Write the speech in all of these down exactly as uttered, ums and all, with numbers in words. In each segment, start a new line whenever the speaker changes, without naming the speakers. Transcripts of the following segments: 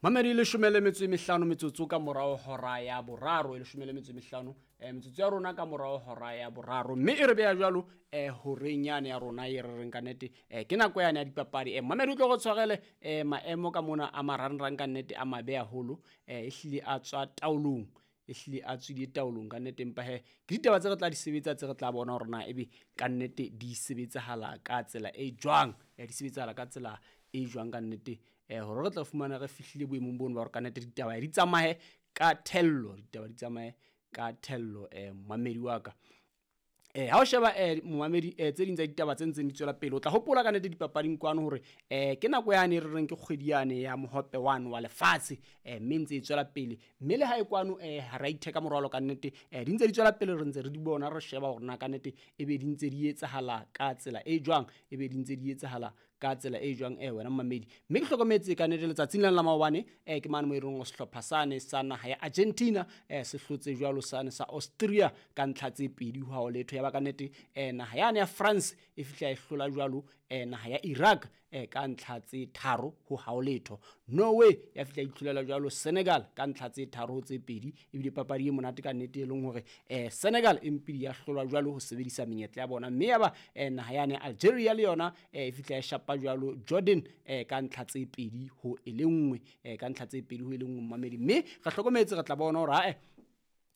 Mamedi leshome le metso e mehlano metsotso ka morao hora ya boraro, e leshome le metso e mehlano eh, metsotso ya rona ka morao hora ya boraro, mme e re beha jwalo eh, horeng yane ya rona e re reng ka nnete eh, ke nako yane ya dipapadi. eh, Mamedi o tlo go tshwarele eh, maemo ka mona a marangrang ka nnete a mabe haholo, eh, ehlile a tswa taolong, ehlile a tswile taolong ka nnete. Empa he ke ditaba tse re tla di sebetsa, tse re tla bona hore na ebe ka nnete di sebetsahala ka tsela e jwang, eh, di sebetsahala ka tsela e jwang ka nnete, eh, hore re tla fumana re fihlile boemong bono ba hore ka nnete ditaba di tsamaye ka thello, ditaba di tsamaye ka thello. eh, momamedi wa ka, eh, ha o sheba eh, momamedi eh, tse ding tsa ditaba tse ntseng di tswela pele, o tla hopola ka nnete dipapading kwano hore eh, ke nako yane e re reng ke kgwedi yane ya mohope wane wa lefatshe, eh, mme ntse e tswela pele, mme le ha e kwano eh, ha ra itheka morwalo ka nnete, eh, di ntse di tswela pele, re ntse re di bona, re sheba hore na ka nnete e be di ntse di etsahala ka tsela e jwang, e be di ntse di etsahala ka tsela e jwang, eh, wena momamedi. Mme ke hlokometse ka nnete letsatsing lena la maobane eh, ke mane mo e reng sehlopha sane sa naha ya Argentina eh, se hlotse jwalo sane sa Austria ka ntlha tse pedi ho ha ho letho. Ya ba ka nnete eh, naha yane ya France e fihla e hlola jwalo eh, naha ya Iraq eh, ka ntlha tse tharo ho ha ho letho. Norway ya fihla itlholela jwalo Senegal ka ntlha tse tharo ho tse pedi, ebile papadi e monate ka nnete e leng hore eh, Senegal e mpidi ya hlolwa jwalo ho sebedisa menyetla ya bona. Mme ya ba eh, naha yane Algeria le yona eh, e fihla e shapa jwalo Jordan eh, ka ntlha tse pedi ho e le nngwe, eh, ka ntlha tse pedi ho e le nngwe momamedi. Mme re hlokometse re tla bona hore ha eh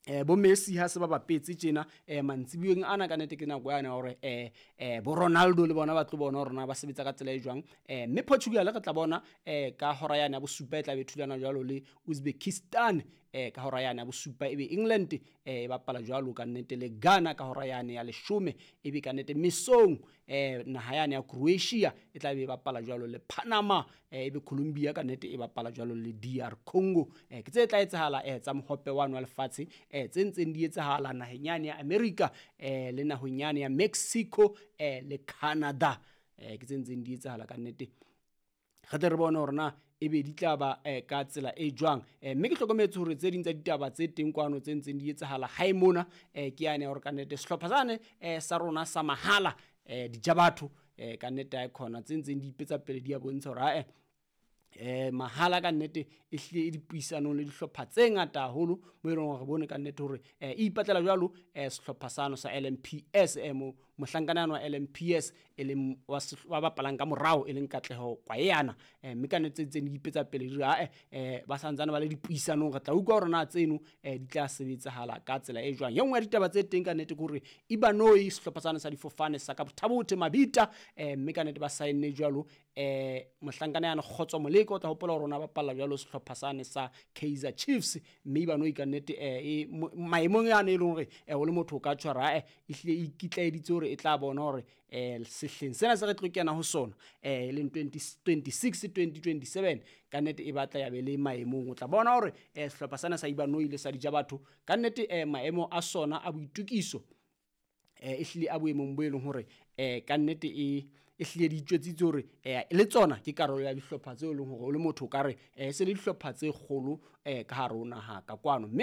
eh bo Messi ha se ba bapetse tjena eh mantsibueng ana ka nnete ke nako yane hore eh eh bo Ronaldo le bona ba tlo bona hore na ba sebetsa ka tsela e jwang. eh mme Portugal re tla bona eh ka hora yane ya bosupa e tla be thulana jwalo le Uzbekistan, eh ka hora yane ya bosupa ebe England eh e bapala jwalo ka nnete le Ghana ka hora yane ya leshome, ebe ka nnete mesong eh naha yane ya Croatia e tla be e bapala jwalo le Panama, eh ebe Colombia ka nnete e bapala jwalo le D R Congo. eh ke tse tla etsahala eh tsa mohope wa wa lefatshe eh tse ntseng di etsahala naheng yane ya America eh le naheng yane ya Mexico eh le Canada, eh ke tse ntseng di etsahala ka nnete. Re tle re bone hore na ebe di tla ba eh, ka tsela e jwang. eh, mme ke hlokometse hore tse ding tsa ditaba tse teng kwano tse ntseng di etsahala hae mona eh, ke yane ya hore ka nnete sehlopha sane eh, sa rona sa mahala eh, dijabatho eh, ka nnete ha e khona tse ntseng di ipetsa pele di a bontsha hore ha eh eh mahala ka nnete e hlile e dipuisanong le dihlopha tse ngata haholo mo e leng hore re bone ka nnete hore eh, e ipatlela jwalo eh, sehlopha sano sa L M P S, eh, mo mohlankana wa L M P S e leng wa wa bapalang ka morao e leng Katleho Kwayana, eh, mme ka nnete tse ntseng di ipetsa pele di re, ha, eh, eh, ba santsane ba le dipuisanong, re tla utlwa hore na tseno eh, di tla sebetsahala ka tsela e jwang. E nngwe ya ditaba tse teng ka nnete ke hore Ibanoi sehlopha sano sa difofane sa ka Bothabothe Mabita, eh, mme ka nnete ba saenne jwalo eh, mohlankana yana Kgotso Moleko, o tla hopola hore ona bapalla jwalo sehlopha sane sa Kaizer Chiefs, mme Ibanoi ka nnete eh, maemong yane e leng hore eh, o le motho o ka tshwara eh, ehlile e ikitlaeditse hore e tla bona hore eh, sehleng sena se re tlo kena ho sona eh, e leng twenty twenty-six twenty twenty-seven ka nnete e batla ya be le maemong. O tla bona hore eh, sehlopha sena sa Ibanoi le sa Dijabatho ka nnete eh, maemo a sona a boitukiso eh, ehlile a boemong bo e leng hore eh, ka nnete e ehlile di itjwetsitse hore eh, le tsona ke karolo ya dihlopha tseo e leng hore o le motho o ka re eh, se le dihlopha tse kgolo eh, ka hare ho naha ka kwano. Mme